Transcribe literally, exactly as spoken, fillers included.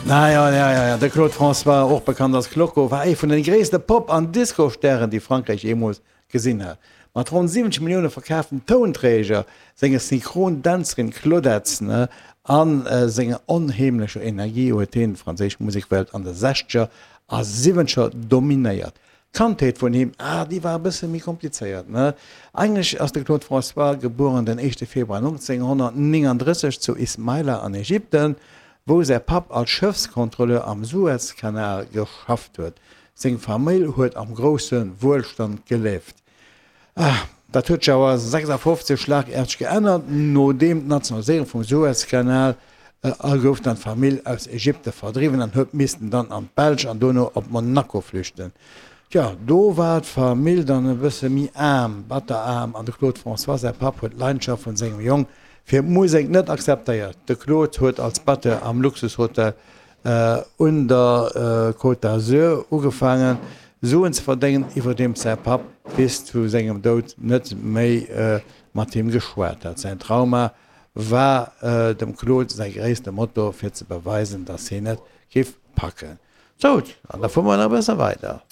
Na ja, ja, ja, ja. De Claude François, och bekannt als Clocko, war ee vun den gréisste Pop an Disco-Stären, déi Frankräich jeemools gesinn hat. Mat ronn siwwenzeg Millioune verkaaften Tounträger, senger Synchron-Dänzerin Claudette a senger onheemlecher Energie huet hien d'franséisch Musekwelt an de Sechzeger a Siwwenzeger dominéiert. D'Kandheet vun him, ah, déi war e bësse méi komplizéiert, ne? Eigentlech ass de Claude François gebueren den éischte Februar nonzénghonnertnénganddrësseg zu Ismaila an Ägypten, wou säi Papp als Schëffskontrolleur am Suezkanal geschafft huet. Seng Famill huet am grousse Wuelstand gelieft. Ah, dat huet sech awer sechsafofzeg schlagaarteg geännert, nodeem d'Nationaliséierung vum Suezkanal a gouf dann d'Famill aus Ägypte verdriwwen an huet missten dann an d'Belsch an dono op Monaco flüchten. Tja, do war d'Famill dann e bësse méi aarm, batteraarm, an de Claude François säi Papp huet d'Leidenschaft vun sengem Jong fir d'Musek net akzeptéiert. De Claude huet als Batteur am Luxushotel un der Côte d'Azur ugefaangen, Suen ze verdéngen, iwwerdeems säi Papp bis zu sengem Doud net méi mat him geschwat hat. Säin Trauma war dem Claude säi gréisste Motor fir ze beweisen, datt hien et géif packen. Sou, an da fuere mer nach e bësse weider.